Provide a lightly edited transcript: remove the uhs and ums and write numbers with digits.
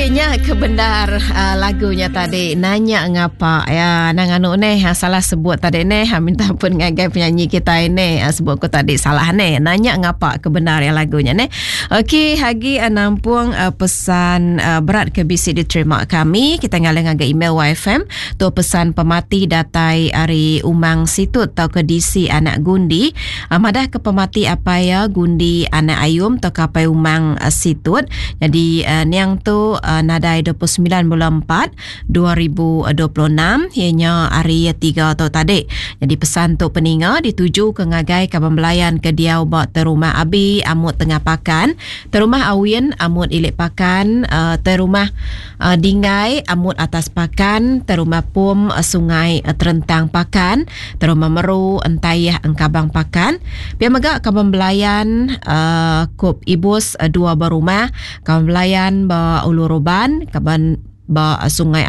Okey nya ke bendar uh, lagunya tadi nanya ngapa ya nang anu neh ah, salah sebut tadi neh ah, minta ampun ngagai penyanyi kita ini ah, sebut ku tadi salah neh nanya ngapa ke bendar ya lagunya neh. Okey hagi nampung pesan berat ke bisi diterima kami kita ngalih ngagai email YFM Tu pesan pemati datai ari Umang Situt tauka DC anak Gundi madah ke pemati apai iya Gundi anak Ayum tauka apai Umang Situt. Nyadi niang tu nadai 29 bulan 4 2026 iya nya hari tiga tu tadi. Nyadi pesan tu peninga dituju ke ngagai kaban belayan ke diau ba Terumah Abi Amut Tengah Pakan, Terumah Awin Amut Ilik Pakan, Terumah Dinggai Amut Atas Pakan, Terumah Pum Sungai Terentang Pakan, Terumah Meru Entayah Engkabang Pakan. Pia mega kaban belayan Kup Ibus dua berumah, kaban belayan ba Ulu Roban, kaban ba Sungai.